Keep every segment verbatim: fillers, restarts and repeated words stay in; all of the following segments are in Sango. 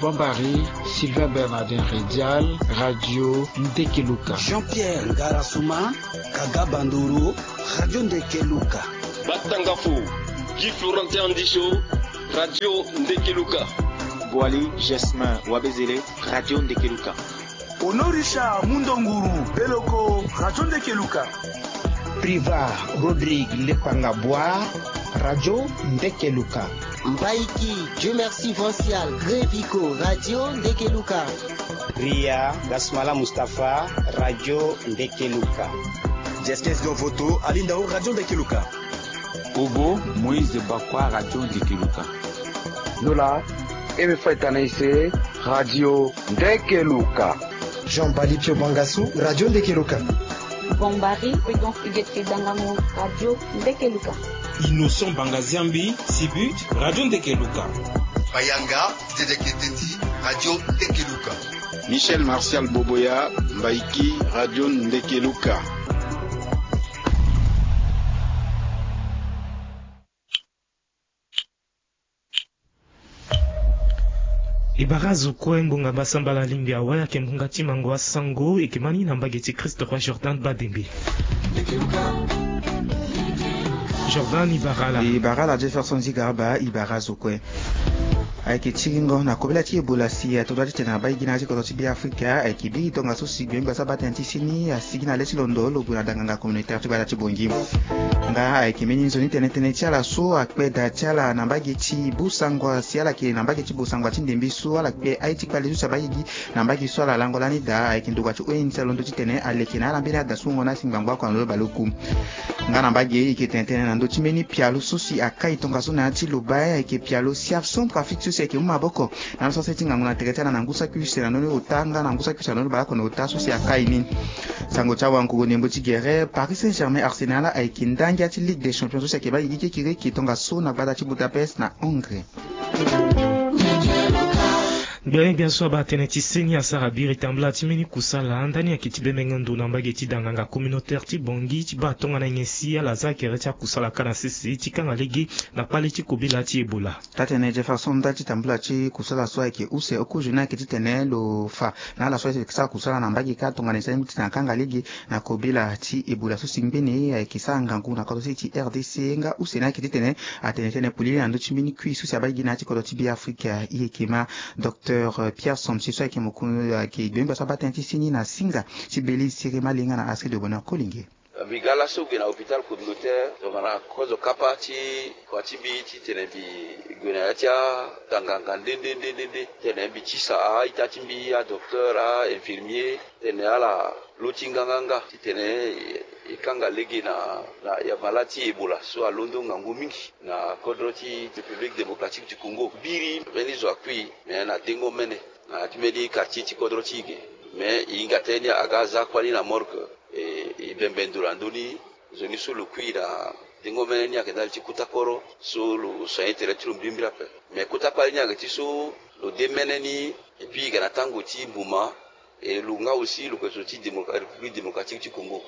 Bambari, Sylvain Bernardin Redial, Radio Ndekeluka. Jean-Pierre Ngarasuma, Kaga Bandoro, Radio Ndekeluka. Batangafo, Guy Florentin Andisho, Radio Ndekeluka. Boali Jasmin Wabezele, Radio Ndekeluka. Honorisha Mundonguru Beloko, Radio Ndekeluka. Priva Rodrigue Lepanga Bois, Radio Ndekeluka. Mbaiki Dieu Merci Vancial Grevico, Radio Ndekeluka. Ria Gasmala Mustapha, Radio Ndekeluka. Jeskes Dovoto Alindao, Radio Ndekeluka. Ogo Moïse Bakwa, Radio Ndekeluka. Nola Eme Faitana Ise, Radio Ndekeluka. Jean Bali Pio Bangasu, Radio Ndekeluka. Bombari Prudence Huguette Dangango, Radio Ndekeluka. Innocent Bangaziambi Sibut, Radio Ndekeluka. Bayanga Dedeke Teti, Radio Ndekeluka. Michel Martial Boboya Mbaiki, Radio Ndekeluka. E bara azo kue ngbonga basambala alingbi awai ayeke ngbonga ti mango asango e yeke ma ni na mbage ti Christ Roi Jordan Badembe. Jordan, e bara ala. E bara ala Jefferson Zigarba, e bara azo kue. Ayeke tiringo na kobela ti Ebola si ato dua titene na baa e gi na ya ti kodro ti Beafrika ayeke biri tongaso si gbe ngbasa baa tënë ti seni asigi na le ti londo lo gue na danganga communautaire ti gbata ti Bangui. Nga ayeke mbeni nzoni tene tënë ti ala so akpe da ti ala na mbage ti Bosangwa si ala yeke na mbage ti Bosangwa ti ndembe so ala kpe aye ti kpale so si abaa e gi na mbage so ala lango lani daa ayeke ndokua ti O N G alondo titene aleke na ala mbeni ada so wungo na asi ngbangbo oko na lo baleoku. Nga na mbage e yeke tene tënë na ndö ti mbeni pialo so si akai tongaso na ya ti loba ayeke pialo Siaf Centrafrique so si ayeke mu maboko na laso se ti ngangu na tere ti ala na ngu saki use na ndö ni ota nga na ngu saki use na ndö ni baleoko na ota so si akai ni. Sango ti awango ndembo ti gere Paris Saint-Germain Arsenal ayeke nda ngia ti Ligue des Champions so si ayeke baa e gi kirikiri tongaso na gbata ti Budapest na Hongrie. Gbia gbia so abaa tënë ti seni asara biri tambula ti mbeni kusala ndani ayeke ti bemenge ndo na mbage ti danganga communautaire ti Bangui ti baa tongana nyen si ala za gere ti akusala ka na sese ti kanga lege na kpale ti kobela ti Ebola. Taa-tënë Jefferson, nda ti tambula ti kusala so ayeke use oko journée ayeke titene lo fa na ala so ayeke sara kusala na mbage kâ tongana e sara ni titene akanga lege na kobela ti Ebola so si ngbene ayeke sara ngangu na kodro ti R D C nga use ni ayeke titene atene tënë polele na ndö ti mbeni kui so si abaa e gi na ya ti kodro ti Beafrika. E yeke ma Docteur Pierre Somsi so ayeke mokonzi ayeke gbengba so abaa tënë ti seni na singa ti Belize, Siré Malinga na Astrid de Bonheur Kolenge. Mbi ga laso gue na hôpital communautaire tongana kozo kapa ti kua ti mbi titene mbi gue na ya ti atanganga nde nde nde nde nde titene mbi tisa a-ita ti mbi, adocteur, a-infirmier, titene ala loti nganganga titene e kanga lege na, na ya malade ti Ebola so alondo ngangu mingi na kodro ti République Démocratique du Congo. Biri mbeni zo akui me na dengo mene na ya ti mbeni quartier ti kodro ti e ge. Me e hinga tënë ni aga za kuâ ni na morgue. E, e bembe ndo na ndö ni nzoni so lo kui na dengo mene ni ayeke ndali ti kota koro so lo soigner tere ti lo mbrimbri ape. Me kota kpale ni ayeke ti so lo de mene ni. Et puis e ga na tango ti mbuma. E lo nga aussi lo yeke zo ti démocra-, République Démocratique ti Congo.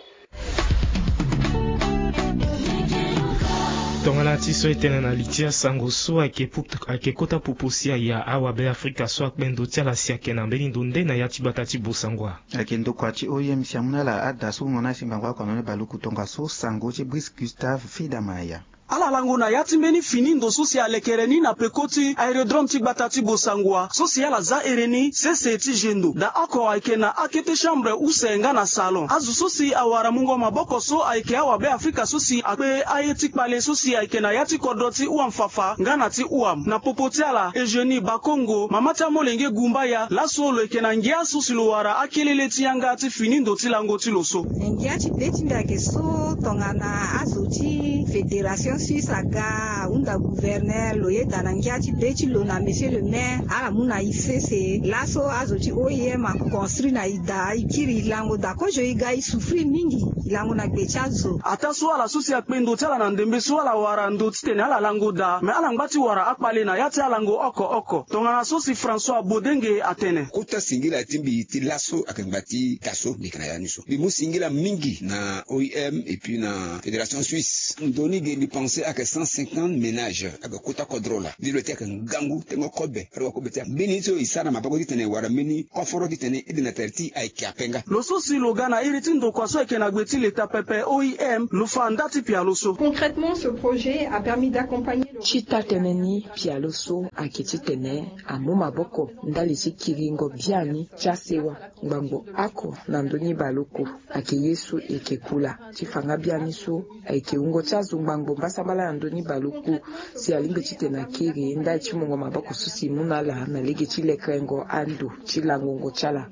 Tongana ti so e tene na li ti asango so ayeke pu-, ayeke kota popo si aya awabe Afrika so akpe ndo ti ala si ayeke na mbeni ndo nde na ya ti gbata ti Bosangwa. Ayeke ndokua ti O I M si amu na ala ada so wungo na asi ngbangbo oko na ni baleoku tongaso sango ti Brice Gustave Fidamaya. Ala lango na ya ti mbeni fini ndo so si alekere ni na peko ti aérodrome ti gbata ti Bosangwa so si ala za here ni sese ti zendo. Daa oko ayeke na akete chambre use nga na salon. Azo so si awara mungo maboko so ayeke awabe Afrika so si akpe aye ti kpale so si ayeke na ya ti kodro ti Ouam-Fafa nga na ti Ouam. Na popo ti ala, Eugénie Bakongo, mama ti amolenge Gumbaya, laso lo yeke na ngia so si lo wara akelele ti yanga ti fini ndo ti lango ti lo so. Na ngia ti be ti mbi ayeke so tongana azo ti Fédération Suisse aga ahunda gouverneur, lo yeda na ngia ti be ti lo na monsieur le maire, ala mu na e sese. Laso azo ti O I M aconstruire na e daa, e kiri e lango daa kozo, e ga e souffrir mingi, e lango na gbe ti azo. Ataa so ala so si akpe ndo ti ala na ndembe so ala wara ndo titene ala lango daa, me ala ngba ti wara akpale na ya ti alango oko oko. Tongana so si François Bodenge atene. Kota singila ti mbi ti laso ayeke ngba ti taa so mbi yeke na ya ni so. Mbi mu singila mingi na O I M et puis na Fédération Suisse. Ndo ni ge mbi pan Si ayeke cent cinquante ménage ayeke kota kodro laa. Ni lo ti ayeke ngangu tengo kobe alowa kobe ti ambeni so e sara na maboko titene wara mbeni koforo titene ede na tere ti ayeke ape nga. Lo so si lo ga na iri ti ndokua so ayeke na gbe ti leta pepe oim lo fa nda ti pialo so. Concrètement, ce projet a permis d'accompagner le ti taa tënë ni pialo so ayeke titene amu maboko ndali ti kiringo biani ti asewa ngbangbo oko na ndö ni baleoko. Ayeke ye so e yeke kula ti fa nga biani so ayeke wungo ti azo ngbangbo mbasambala na ndö ni baleoko. Si alingbi titene akiri ndali ti mungo maboko so si e mu na ala na lege ti lekerengo ando ti langongo ti ala.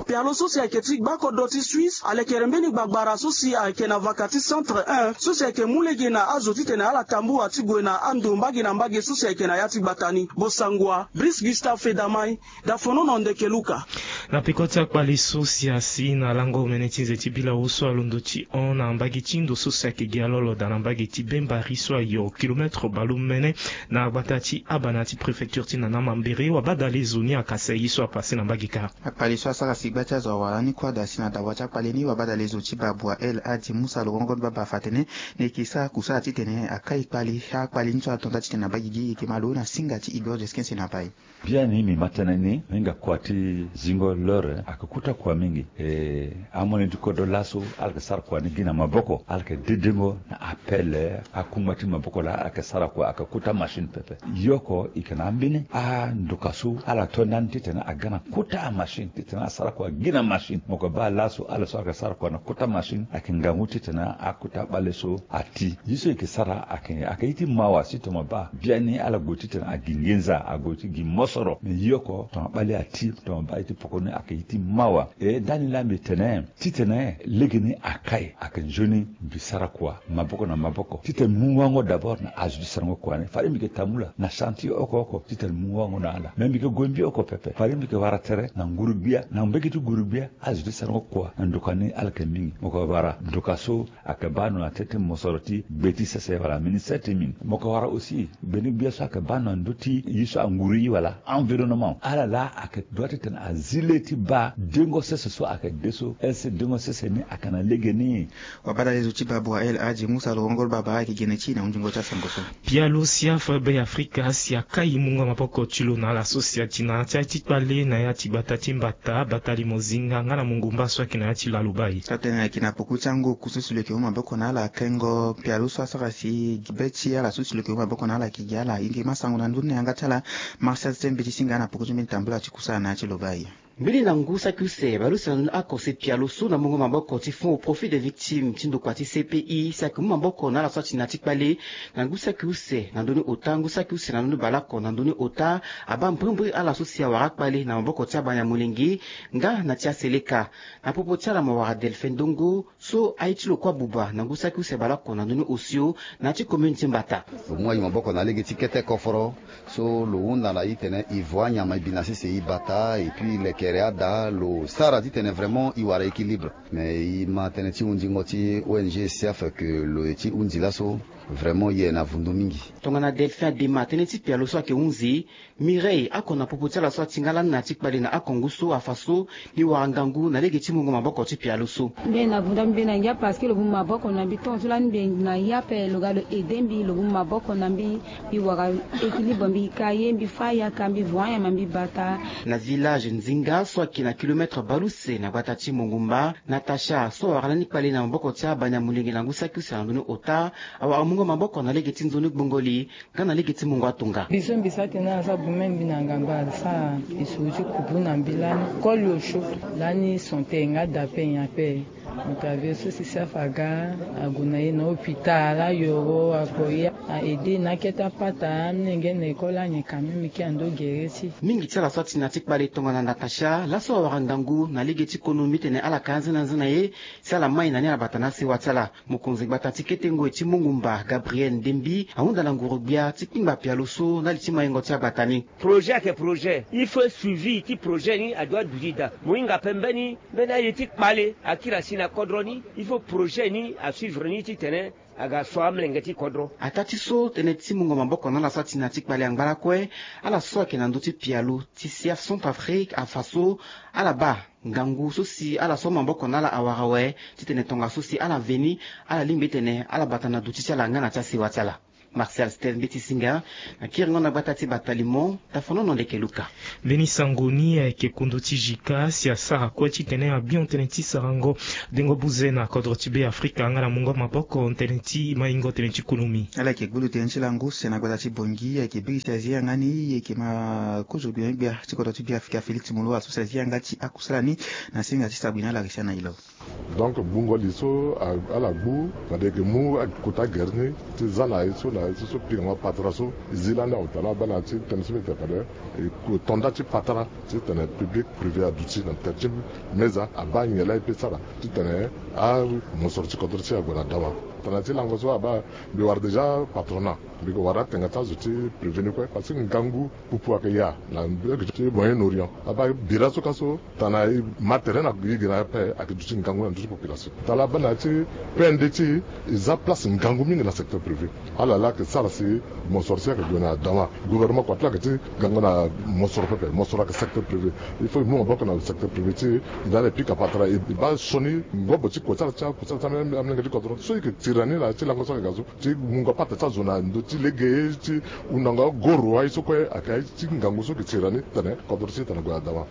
Pialo so si ayeke ti gba kodro ti Suisse alekere mbeni gbagbara so si ayeke na vaka ti centre un so si ayeke mu lege na azo titene ala tambula ti gue na ando mbage na mbage so si ayeke na ya ti gbata ni. Bosangua Brice Gustave Fedamai. Dafono na ndeke Luka. Na peko ti akpali so si asi na lango omene ti nze ti bilau so alondo ti hon na mbage ti ndo so si ayeke gi alolo daa na mbage ti Bembari so ayo kilometre baleomene na gbata ti Abana ti préfecture ti Nana Mambere, wabadale zo ni akasa ye so apase na mbage kâ. Akpali so asara sigba ti azo awara ni kue ada si na dawa ti akpali ni, wabadale zo ti Babua El Hadji Moussa Lorongo Baba afa atene na e yeke sara kusala titene akai kpali akpali ni so ato nda titene abaa gigi e yeke ma lo na singa ti Igor Desquin si na bai. Biani mbi ma tënë ni, hinga kua ti zingo l'heure ayeke kota kua mingi. E, amolenge ti kodro laso ala yeke sara kua ni gi na maboko, ala yeke dedengo na appel akungba ti maboko laa ala yeke sara kua, ayeke kota machine pepe. Yo oko e yeke na ambeni andoka so ala to ndani titene aga na kota amachine titene asara kua gi na machine. Mo yeke baa laso ala so ayeke sara kua na kota machine ayeke ngangu titene akota bale so ati. Ye so e yeke sara ayeke, ayeke ye ti mawa si tongana baa biani ala gue titene agi nginza, ague ti gi mosoro. Me ye oko tongana bale ati, tongana baa ye ti poko ni ayeke ye ti mawa. E ndani laa mbi tene titene legeni akai ayeke nzoni mbi sara kua maboko na maboko titene mbi mu wango d'abord na azo ti sarango kua ni. Fade mbi yeke tambula na chantier oko oko titene mbi mu wango na ala. Me mbi yeke gue mbi oko pepe, fade mbi yeke wara tere na nguru-gbia, na mbege ti nguru-gbia, azo ti sarango kua na ndoka ni ala yeke mingi. Mo yeke wara ndoka so ayeke baa ndo na teti mosoro ti gbe ti sese wala ministère ti mine. Mo yeke wara aussi mbeni gbia so ayeke baa ndo na ndö ti ye so anguru ye wala environnement. Ala laa ayeke droit titene azi le ti baa dengo sese so ayeke de so. Est-ce que dengo sese ni ayeke na legeni? Wabadale zo ti Babua El Hadji Moussa Lorongo Baba ayeke gene ti e na hunzingo ti asango so. Pialo siafa Be Afrika si akai mungo maboko ti lo na ala so si ati na ya ti kpale na ya ti gbata ti Mbata, Bata Limozinga nga na Mongumba so ayeke na ya ti Lalubai. Taa tënë ayeke na poko ti ango oku so si lo yeke mu maboko na ala kengo pialo so asara si be ti ala so si lo yeke mu maboko na ala ayeke gi ala. E yeke ma sango na ndö ni na yanga ti ala. Martial Sembe ti singa na poko ti mbeni tambula ti kusala na ya ti Lobai. Mbeni na ngu saki use baleuse na ndoni oko si pialo so na mungo maboko ti Fonds au profit des victimes ti ndokua ti C P I si ayeke mu maboko na ala so ati na ya ti kpale na ngu saki use na ndoni ota, ngu saki use na ndoni baleoko na ndoni ota, abaa mbrimbri ala so si awara akpale na maboko ti abanya molenge nga na ti aseleka. Na popo ti ala mo wara Delphin Ndongo so aye ti lo kue abuba na ngu saki use baleoko na ndoni osio na ya ti commune ti Mbata. Lo mu ayi maboko na lege ti kete koforo so lo hunda na e titene e voa nyama e bi na sese e bata, et puis lekere ada lo sara titene vraiment e wara équilibre. Mais e ma tënë ti hunzingo ti O N G siafa ke lo ye ti hunzi laso, vraiment e ye na vundu mingi. Tongana Delphin Adema tënë ti pialo so ayeke hunzi, Mireille, oko na popo ti ala so ati nga lani na ya ti kpale na oko ngu so afa so ni wara ngangu na lege ti mungo maboko ti pialo so. Mbi na vunda mbi na ngia parce que lo mu maboko na mbi tongaso lani mbi na ya ape lo ga lo aide mbi, lo mu maboko na mbi, mbi wara équilibre, mbi ka ye, mbi fa yaka, mbi voa nyama, mbi bata. Na village Nzinga so ayeke na kilomètre baleuse na gbata ti Mongumba, Natacha so awara lani kpale na maboko ti abanya molenge na ngu saki use na ndoni ota, awara mungo maboko na lege ti nzoni gbongoli nga na lege ti mungo atonga. Biso mbi sara tene ala sara bume mbi na ngamba ala sara lisoro ti kubu na mbi lani koli osio lani son te nga da ape nyen ape. Moto ave so si safa aga ague na e na hôpital ayoro ague ye a aide na akete apata amolenge na école anyen quand même ki ando gere ti. Mingi ti ala so ati na ya ti kpale tongana Natacha laso awara ngangu na lege ti kono mbi tene ala ka anzena nzena ye si ala mai na ni ala bata na asewa ti ala. Mokonzi gbata ti kete ngoi ti Mongumba Gabriel Ndembi ahunda na nguru-gbia ti kpingba pialo so ndali ti maingo ti agbata ni. Projet ayeke projet, il faut suivi ti projet ni adoit duti daa. Mo hinga ape mbeni mbeni aye ti kpale akiri asi na kodro ni, il faut projet ni asuivre ni titene Aga so amolenge ti kodro. Ataa ti so tënë ti mungo maboko na ala so ati na ti kpale angba lakue. Ala so ayeke na ndö ti pialo ti sia Centrafrique afa so ala baa ngangu so si ala so maboko na ala awara awe titene tongaso si ala veni ala lingbi titene ala bata na duti ti ala nga na ti asewa ti ala. Martial Steve Mbeti Singa na kiringo na gbata ti Batalimo. Tafonono ndeke Luka. Mbeni sango ni ayeke kundu ti jika si asara kue titene abion tënë ti sarango dengo buze na kodro ti Be Afrika nga na mungo maboko tënë ti maingo tënë ti kulumi. Ala yeke gbulu tënë ti lango use na gbata ti Bongi ayeke biri si azi yanga ni yeke ma kozo gbia gbia ti kodro ti Be Afrika Félix Moloua so si azi yanga ti akusala ni na singa ti sabui na ala risia na ilo. Donc gbungo li so ala gbu fade eke mu kota gere ni ti za na ye so na ye so so pika ngo patara so e zi lani awe tala abaa na ya ti tënë so mbi tene fade e ku tonda ti patara titene public privé aduti na tere ti meza abaa nyen laa e pe sara titene amosoro ti kodro ti e ague na dawa. Tana ti lango so abaa mbi wara déjà patronat mbi yeke wara atenga ti azo ti privé ni kue parce que ngangu pupu ayeke ya na mbege ti Moyen Orient abaa bira so ka so tana e ma tere na gi gi na ape ayeke duti ngangu na ndö ti population. Tala abaa na ya ti P N D ti e za place ngangu mingi na secteur privé. Ala laa ayeke sara si mosoro si ayeke gue na dama gouvernement kua ti lo ayeke ti gango na mosoro pepe mosoro ayeke secteur privé. Il faut e mu maboko na secteur privé ti e e na ala e pika patara e baa sioni ngobo ti kua ti ala ti akua ti ala ti amolenge ti kodro so e yeke tiri na ni na ya ti lango so ayeke ga so ti mungo apata ti azo na ndö ti lege ti hundango agoro aye so kue ayeke aye ti ngangu so e yeke tiri na ni titene kodro ti e tene gue na dama.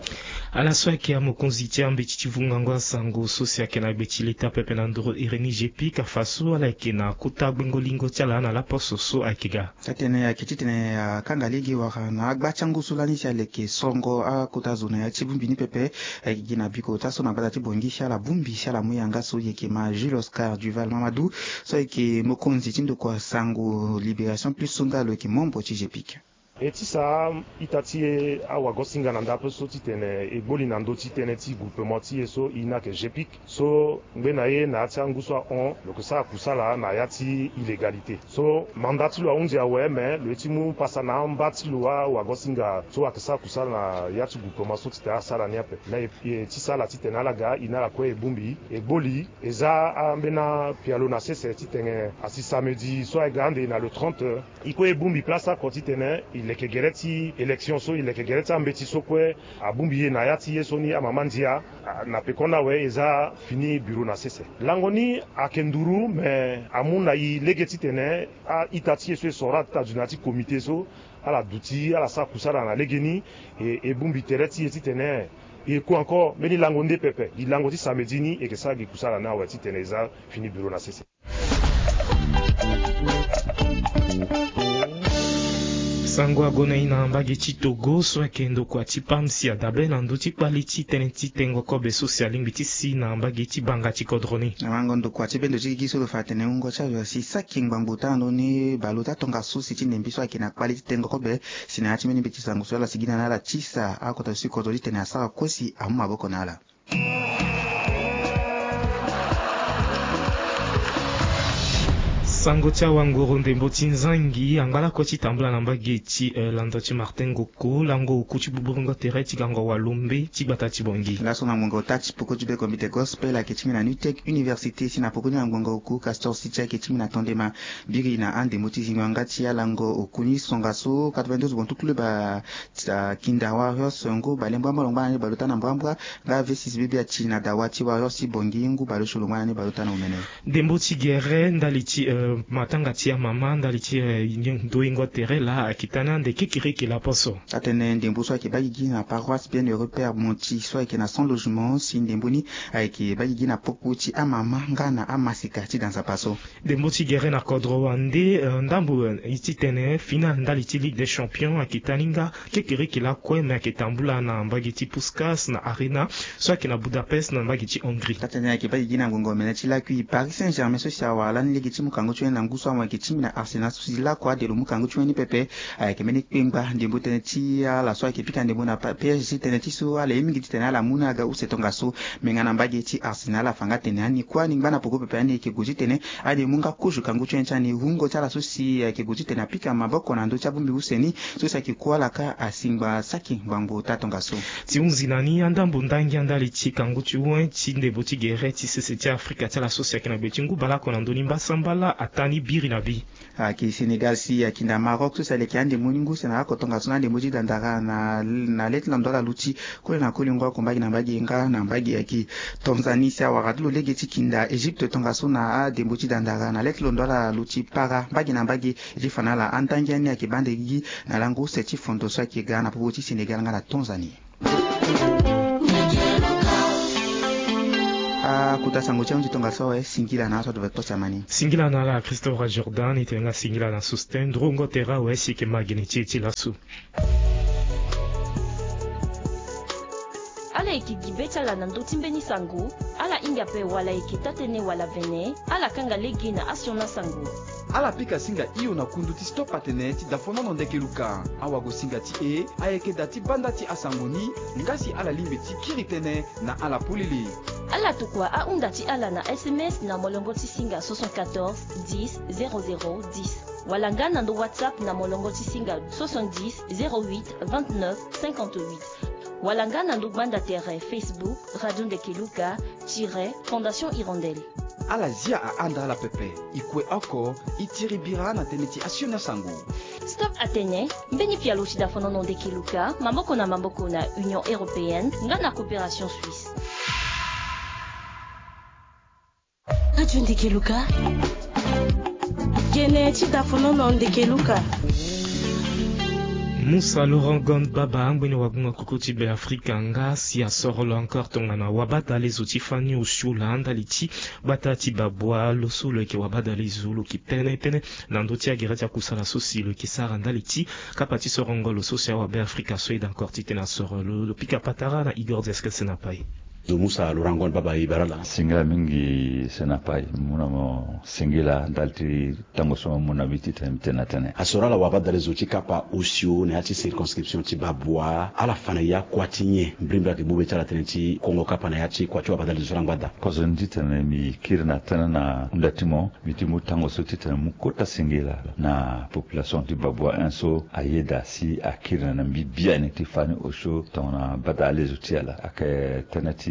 Ala so ayeke amokonzi ti ambeti ti vungango asango so si ayeke na gbe ti leta pepe na ndoro iri ni G P ka fa so ala yeke na kota gbengo lingo ti ala na laposo so ayeke ga. Atene ayeke titene akanga lege wala na agba ti angu so lani si aleke sorongo akota zo na ya ti bongbi ni pepe. Ayeke gi na biko ti aso na gbata ti Bongi si ala bongbi si ala mu yanga so e yeke ma Jules Oscar Duval Mamadou so ayeke mokonzi ti ndokua sango Libération Plus so nga lo yeke membre ti G P I C. E ti sa ita ti e awagosinga na ndapre so titene e gboli na ndö ti tënë ti groupement ti e so e na yeke G P I C so ngbene ye na ya ti angu so ahon lo yeke sara kusala na ya ti illégalité so manda ti lo ahunzi awe me lo ye ti mu pasa na amba ti lo awagosinga so ayeke sara kusala na ya ti groupement so titene asara ni ape. Me e ti sara titene ala ga e na ala kue e bongbi e gboli e za ambeni apialo na sese titene asi samedi so ayeke ga ande na le trente. E kue e bongbi place oko titene e leke gere ti élection so e leke gere ti ambeti so kue abongbi e na ya ti ye so ni amama ndia na pekoni awe e za fini bureau na sese. Lango ni ayeke nduru me amu na e lege titene a-ita ti e so e soro ala ti ta dunia ti comité so ala duti ala sara kusala na legeni. E e bongbi tere ti e titene e ku encore mbeni lango nde pepe gi lango ti samedi ni e yeke sara gi kusala ni awe titene e za fini bureau na sese. Sango ague na e na mbage ti Togo so ayeke ndokua ti pam si adabe na ndö ti kpali ti tënë ti tengo kobe so si alingbi ti si na mbage ti banga ti kodro ni. Na wango ndokua ti bendo ti gigi so lo fa atene wungo ti azo asi saki ngbangbo taa ndoni baleota tongaso si ti ndembi so ayeke na kpali ti tengo kobe si na ya ti mbeni mbeti sango so ala sigi na ala ti sa akota so si kodro titene asara kue si amu maboko na ala. Sango ti awanguru ndembo ti nzangi angba lakue ti tambula na mbage ti lando ti Martin Ngoko lango oku ti buburingo tere ti gango walombe ti gbata ti Bongi. Laso na ngonga ota ti poko ti beko mbi te gospel ayeke ti mbi na nutec université si na poko ni na ngonga oku Castor City ayeke ti mbi na tondema. Biri na andembo ti zingo yanga ti alango oku ni songa so quatre-vingt-douze bontuklube. Kinda Warriors ngu bale mbuambua lo ngba na ni baleota na mbuambua. Nga V six B B ati na dawa ti Warriors ti Bongi ngu bale osio lo ngba na ni baleota na omene. Ndembo ti gere ndali ti matanga ti amama ndali ti ndoingo tere laa ayeke tani ande kekiriki laposo. Atene ndembo so ayeke baa gigi na paroisse Bienheureux Père Monti so ayeke na cent logements si ndembo ni ayeke baa gigi na popo ti amama nga na amaseka ti da nzapa so. Ndembo ti gere na kodro wande ndambo ti tene final ndali ti Ligue des Champions ayeke tani nga kekiriki lakue me ayeke tambula na mbage ti Puskas na Arena so ayeke na Budapest na mbage ti Hongrie. Atene ayeke baa gigi na ngonga omene ti lakui Paris Saint-Germain so si awara lani lege ti mu kango ti wene na ngu so amu ayeke ti mbi na Arsenal so si lakue ade lo mu kango ti wene ni pepe. Ayeke mbeni kpengba ndembo tënë ti ala so ayeke pika ndembo na P S G tënë ti so ala ye mingi titene ala mu ni aga use tongaso. Me nga na mbage ti Arsenal afa nga tene ani kue ani ngba na poko pepe ani yeke gue titene ani mu nga kozo kangu ti wene ti ani wungo ti ala so si ayeke gue titene apika maboko na ndö ti abongbi use ni so si ayeke kue ala ka asi ngba saki ngbangbo taa tongaso. Ti hunzi na ni andambo ndangia ndali ti kangu ti wen ti ndembo ti gere ti sese ti Afrika ti ala so si ayeke na gbe ti ngu baleoko na ndö ni mbasambala. Tani biri na bi. Ayeke Sénégal si akinda Maroc so si aleke ande mo ni ngu si na ako tongaso na ande mo ti dandara na na le ti londo ala luti koli na koli ngu ako mbage na mbage nga na mbage ayeke Tanzanie si awara ti lo lege ti kinda Égypte tongaso na adembo ti dandara na le ti londo ala luti para mbage na mbage. E ti fa na ala andangi ani ayeke bande gigi na lango use ti fondo so ayeke ga na popo ti Sénégal nga na Tanzanie. Akuta sango ti ahunzi tongaso awe singila na aso ado ve kpasi amani. Singila na ala Christopher Jordan ete nga singila na Sosten ndrongo tere awe si eke ma gene ti e ti laso. Ala yeke gi be ti ala na ndö ti mbeni sango. Ala hinga ape wala eke taa-tënë wala vene. Ala kanga lege na asioni asango. Ala pika singa hio na kundu ti stop atene ti dafonono ndeke luka. Awagosinga ti e ayeke da ti banda ti asango ni. Nga si ala lingbi ti kiri tënë na ala polele. Ala tokua ahunda ti ala na S M S na molongo ti singa soixante-quatorze dix zéro zéro dix. Wala nga na ndo WhatsApp na molongo ti singa soixante-dix zéro huit vingt-neuf cinquante-huit. Wala nga na ndo gbanda tere Facebook Radio Ndeke Luka tire Fondation Hirondelle. Ala zia ahanda ala pepe. E kue oko e tiri bira na tënë ti asioni asango. Stop atene mbeni pialo ti dafonono ndeke luka maboko na maboko na Union Européenne nga na Coopération Suisse. Radio Ndeke Luka. Gene ti dafonono ndeke luka. Musa Laurent Gon Baba angbeni wagunga kuku ti Be Afrika nga si asoro lo encore tongana wabadale zo ti fani osio laa ndali ti gbata ti babua lo so lo yeke wabadale zo lo yeke tene tënë na ndö ti agere ti akusala so si lo yeke sara ndali ti kapa ti sorongo lo so si awabe Afrika so aye encore titene asoro lo. Lo pika patara na Igor Diaskese na pai. Zo Musa Laurent Gon Baba, e bara laa. Singila mingi Senapai, mu na mo singila ndali ti tango so mo mu na mbi titene mbi tene na tënë. Asoro ala wabadale zo ti kapa osio na ya ti circonscription ti babua, ala fa na ya kua ti nyen? Mbrimbri ayeke bube ti ala tënë ti kongo kapa na ya ti kua ti wabadale zo ti ala ngbada. Kozo ni titene mbi kiri na tënë na hunda ti mo, mbi ti mu tango so titene mu kota singila na population ti babua un so ayeda si akiri na mbi biani ti fani osio tongana badale zo ti ala. Ayeke tënë ti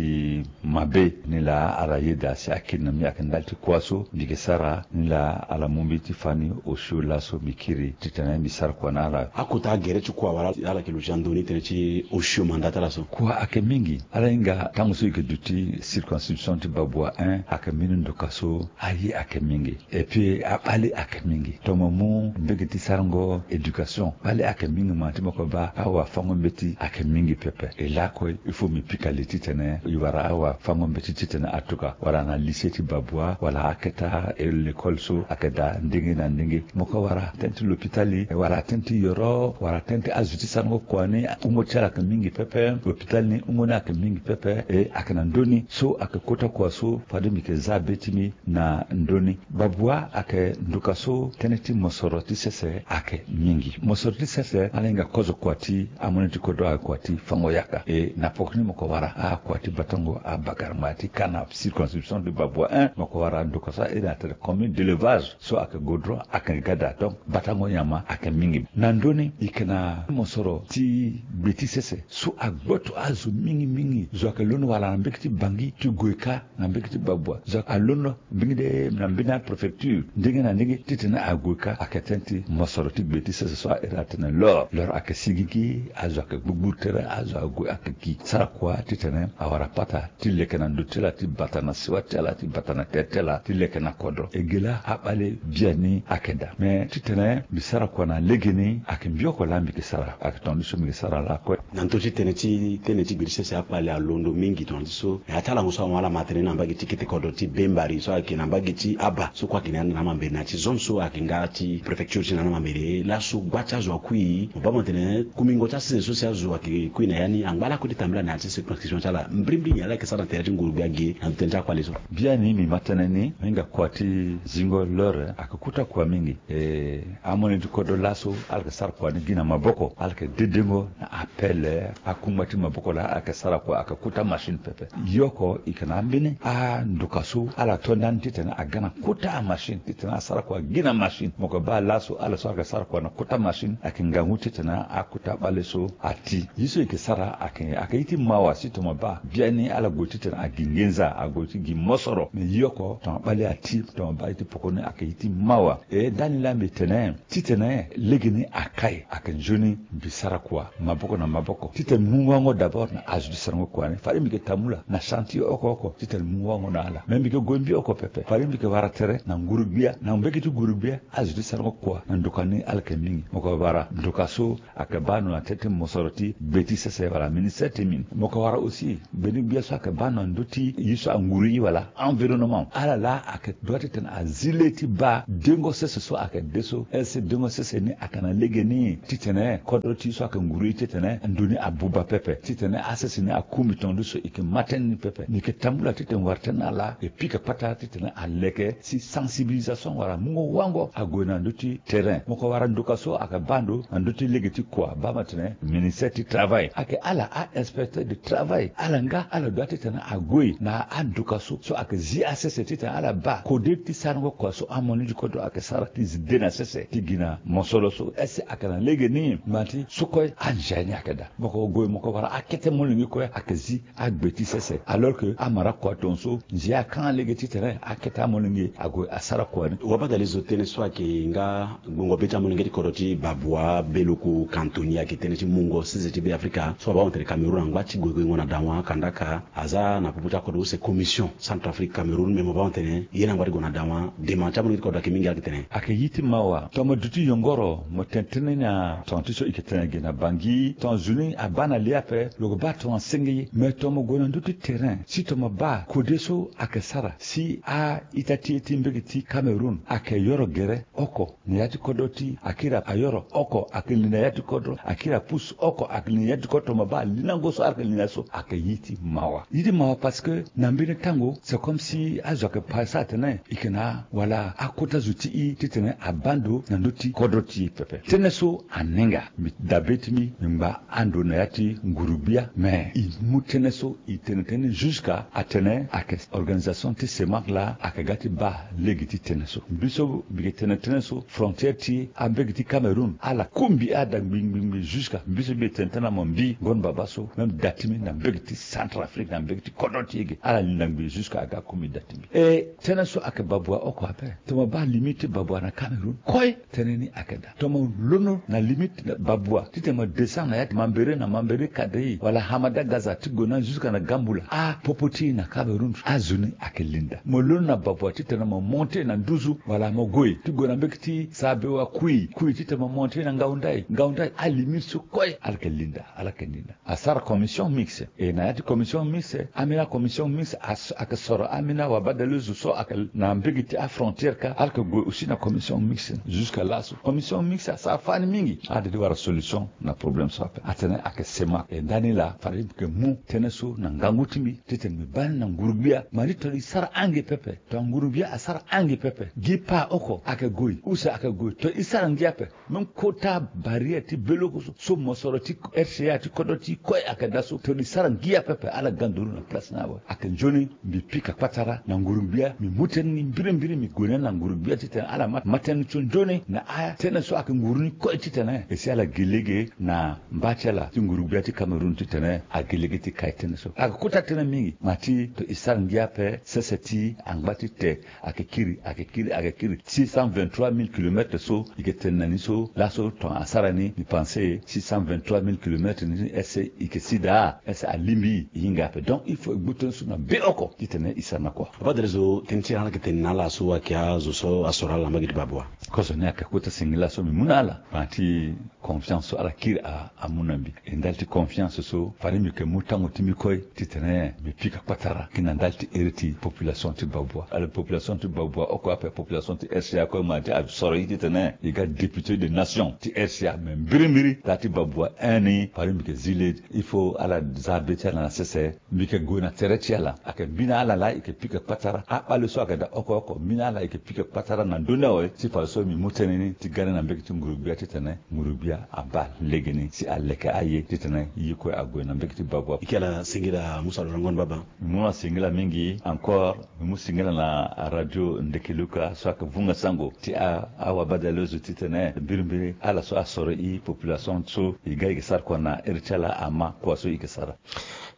mabe ni laa ala yeda si akiri na mbi ayeke ndali ti kua so mbi yeke sara ni laa ala mu mbi ti fani osio laso mbi kiri titene mbi sara kua na ala. Akota agere ti kua wala ala yeke luti na ndö ni tënë ti osio manda ti ala so? Kua ayeke mingi. Ala hinga tango so e yeke duti circonscription ti babua un ayeke mbeni ndoka so aye ayeke mingi. Et puis abale ayeke mingi. Tongana mu mbege ti sarango éducation, bale ayeke mingi ma ti moko baa awafango mbeti ayeke mingi pepe. E laa kue il faut mbi pika li titene e wara awafango mbeti titene atuka wala na lycée ti babua wala aketa, e, l'école so ayeke daa ndenge na ndenge. Moko wara tënë ti lopitali wala tënë ti yoro wala tënë ti azo ti sarango kua ni, wungo ti ala ayeke mingi pepe. Lopitali ni wungo ni ayeke mingi pepe. E ayeke na ndö ni so ayeke kota kua so fade mbi yeke za be ti mbi na ndö ni. Babua ayeke nduka so tënë ti mosoro ti sese ayeke mingi. Mosoro ti sese ala hinga kozo kua ti amolenge ti kodro ayeke kua ti fango yaka. E na poko ni moko wara akua ti batango abagarama ti kana circonscription ti babua un, moko wara nduka so airi na tene commune d'élevage so ayeke godro ayeke gada. Donc batango nyama ayeke mingi. Na ndö ni e yeke na mosoro ti gbe ti sese so agboto azo mingi mingi. Zo ayeke londo wala na mbege ti Bangui ti gue ka na mbege ti babua. Zo alondo mbeni de na mbeni apréfecture ndenge na ndenge titene ague ka. Ayeke tënë ti mosoro ti gbe ti sese so airi atene l'or. L'or ayeke sigigi, azo ayeke gbugburu tere, azo ague ayeke gi sara kua titene awara pata ti leke na ndo ti ala, ti bata na siwa ti ala, ti bata na tere ti ala, ti leke na kodro. E ge laa abale biani ayeke daa. Me titene mbi sara kua na legeni ayeke mbi oko laa mbi yeke sara, ayeke tongana ni so mbi yeke sara laa kue. Na ndö ti tënë ti tënë ti gbe ti sese akpale alondo mingi tongana ti so. Na ya ti alango so amu ala ma tënë na mbage ti kete kodro ti Bembari so ayeke na mbage ti Aba so kue ayeke na ya na amambere na ya ti zone so ayeke nga ti préfecture ti na amambere. Laso gba ti azo akui mo baa mo tene kumingo ti asese so si azo ayeke kui na ya ni angba lakue ti tambela na ya ti circonscription ti ala. Mbrimbri nyen ala yeke sara na tere ti nguru gbia ge na ndö ti tënë ti akpale so? Biani mbi ma tënë ni, mo hinga kua ti zingo l'heure ayeke kota kua mingi. E, amolenge ti kodro laso ala yeke sara kua ni gi na maboko, ala yeke dedengo na apele akungba ti maboko laa ala yeke sara kua, ayeke kota machine pepe. Yoko e yeke na ambeni andoka so ala to ndani titene aga na kota amachine titene asara kua gi na machine. Mo yeke baa laso ala so ala yeke sara kua na kota machine ayeke ngangu titene akota bale so ati. Ye so e yeke sara ayeke, ayeke ye ti mawa si tongana mo baa bia Ni ala gue titene agi nginza, ague ti gi mosoro. Me ye oko tongana bale ati tongana bale ti poko ni ayeke ye ti mawa. E ndani laa mbi tene titene lege ni akai ayeke nzoni mbi sara kua maboko na maboko titene mbi mu wango d'abord na azo ti sarango kua ni fade mbi yeke tambula na chantier oko oko titene mbi mu wango na ala. Me mbi yeke gue mbi oko pepe fade mbi yeke wara tere na nguru-gbia na mbege ti nguru-gbia azo ti sarango kua na ndoka ni ala yeke mingi. Mo yeke wara ndoka so ayeke baa ndo na tete mosoro ti gbe ti sese wala ministère ti mine. Mo yeke wara aussi gbeni-gbia so ayeke baa ndo na ndö ti ye so anguru ye wala environnement. Ala laa ayeke doit titene azi le ti baa dengo sese so ayeke de so. Est-ce dengo sese ni ayeke na lege ni titene kodro ti ye so ayeke nguru ye titene ndo ni abuba pepe titene asese ni akumi tonga ni so e yeke ma tënë ni pepe. Mbi yeke tambula titene wara tënë na ala e pika kpatara titene aleke si sensibilisation wala mungo wango ague na ndö ti terrain. Mo yeke wara ndoka so ayeke baa ndo na ndö ti lege ti kua baa ma tene ministère ti travail ayeke ala a-inspecteur de travail ala nga ala doit titene ague na andoka so so ayeke zi asese titene ala baa kode ti sarango kua so amolenge ti kodro ayeke sara ti zi de na sese ti gi na mosoro so. Est-ce ayeke na lege ni? Ngba ti so kue anzia ni ayeke daa. Mo yeke gue mo yeke wara akete molenge kue ayeke zi agbe ti sese alors que amara kua tongaso nzia akanga lege titene akete amolenge ague asara kua ni. Wabadale zo tënë so ayeke nga gbongo be ti amolenge ti kodro ti Babua, Beluku, Cantoni ayeke tënë ti mungo sese ti Be Afrika so abaa mo tene Cameroun angba ti gue guengo na dawa kandaka aza na popo ti akodro use commission Centrafrique Cameroun me mo baa mo tene ye ni angba ti gue na dawa dema ti amolenge ti kodro ayeke mingi ayeke tene. Ayeke ye ti mawa tongana mo duti yongoro mo tene tënë ni na tongana ti so e yeke tene ge na Bangui tongana zo ni abaa na le ape lo yeke baa tongana senge ye. Me tongana mo gue na ndö ti terrain si tongana mo baa kode so ayeke sara si a-ita ti e ti mbege ti Cameroun ayeke yoro gere oko na ya ti kodro ti akiri ayoro oko ayeke li na ya ti kodro akiri apusu oko ayeke li na ya ti kodro tongana mo baa alinango so ala yeke li na so ayeke ye ti mawa. Ye ti mawa parce que na mbeni tango c'est comme si azo ayeke pasa atene e yeke na wala akota zo ti e titene abaa ndo na ndö ti kodro ti e pepe. Tënë so anenga mbi dabe ti mbi mbi ngba ando na ya ti nguru-gbia me e mu tënë so e tene tënë ni jusqu'à atene ayeke organisation ti CEMAC laa ayeke ga ti baa lege ti tënë so. Mbi so mbi yeke tene tënë so frontière ti ambege ti Cameroun ala ku mbi ada ngbi ngbi ngbi jusqu'à mbi so mbi yeke tene tënë na mo mbi ngon baba so même da ti mbi na mbege ti Centrafrique na mbege ti kodro ti e ge ala linda ngbi jusqu'à aga ku mbi da ti mbi. E tënë so ayeke Babua oko ape. Tongana mo baa limite ti Babua na Cameroun kue tënë ni ayeke daa. Tongana mo londo na limite na Babua titene mo descend na ya ti Mambéré na Mambéré Kadéï wala Hamada Gaza ti gue na jusqu'à na Gambula apopo ti e na Cameroun azo ni ayeke linda. Mo londo na Babua titene mo monte na Nduzu wala mo gue ti gue na mbege ti Sabewa Kui Kui titene mo monte na Ngaoundai Ngaoundai alimite so kue ala yeke linda ala yeke linda. Asara commission mixte e na ya ti commission mixte ambeni acommission mixte ayeke soro ambeni awabadale zo so ayeke na mbege ti afrontière ka ala yeke gue aussi na commission mixte. Jusqu'à laso commission mixte asara fani mingi ala de ti wara solution na problème so ape atene ayeke CEMAC e ndani laa fade mbi yeke mu tënë so na ngangu ti mbi titene mbi baa ni na nguru-gbia ma ni tongana e sara ange pepe tongana nguru-gbia asara ange pepe gi pa oko ayeke gue use ayeke gue tongana e sara ngia ape. Même kota barrière ti beloko so so mosoro ti R C A ti kodro ti kue ayeke daa so tongana e sara ngia pepe ala ga nduru na place ni awe. Ayeke nzoni mbi pika kpatara na nguru-gbia mbi mu tënë ni mbirimbiri mbi gue na ni na nguru-gbia titene ala ma ma tënë ni so nzoni na atënë so ayeke nguru ni kue titene e si ala gi lege na mba ti ala ti nguru-gbia ti Cameroun titene agi lege ti kai tënë so ayeke kota tënë mingi ma ti tongana e sara ngia ape sese ti angba ti te ayeke kiri ayeke kiri ayeke kiri six cent vingt-trois mille kilomètres so e yeke tene na ni so laso tongana asara ni mbi pense six cent vingt-trois mille kilomètres ni est-ce e yeke si daa est-ce alingbi e hinga ape donc il faut e gbu tënë so na be oko titene e sara na kua. Papa Delezo tënë ti ala ayeke tene na ala so ayeke azo so asoro ala na mbage ti Babua. Kozo ni ayeke kota singila so mbi mu na ala ma ti confiance so ala kiri a amu na mbi. E ndali ti confiance so fade mbi yeke mu tango ti mbi kue titene mbi pika kpatara gi na ndali ti iri ti population ti Babua. Ala population ti Babua oko ape population ti R C A kue ma ti asoro e titene e ga député de nation ti R C A me mbirimbiri daa ti Babua un ni fade mbi yeke zi le il faut ala za be ti ala na sese. Mbi yeke gue na tere ti ala ayeke mbi na ala laa e yeke pika kpatara akpale so ayeke daa oko oko mbi na ala e yeke pika kpatara na ndö ni awe ti fadeso mbi mu tënë ni ti gani na mbege ti nguru-gbia titene nguru-gbia abaa legeni si aleke aye titene ye kue ague na mbege ti Babua. Ike ala singila musa lo na ngoni baba. Mbi mu na singila mingi encore mbi mu singila na radio Ndekeluka so ayeke vunga sango ti awabadaleuse titene mbirimbiri ala so asoro e population so e ga e yeke sara kua na iri ti ala ama kua so e yeke sara.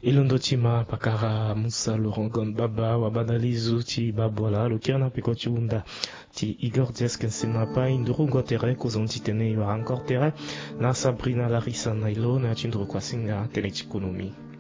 E londo ti ma pakara musa lorangon baba wa badalizu ti babwala lo kiri na peko ti hunda ti igor diaske nsena apai nduru ngo tere kozoni ti tene yo arango tere na sabrina larisa na ilo na ya ti nduru kuasinga tene ti konomi.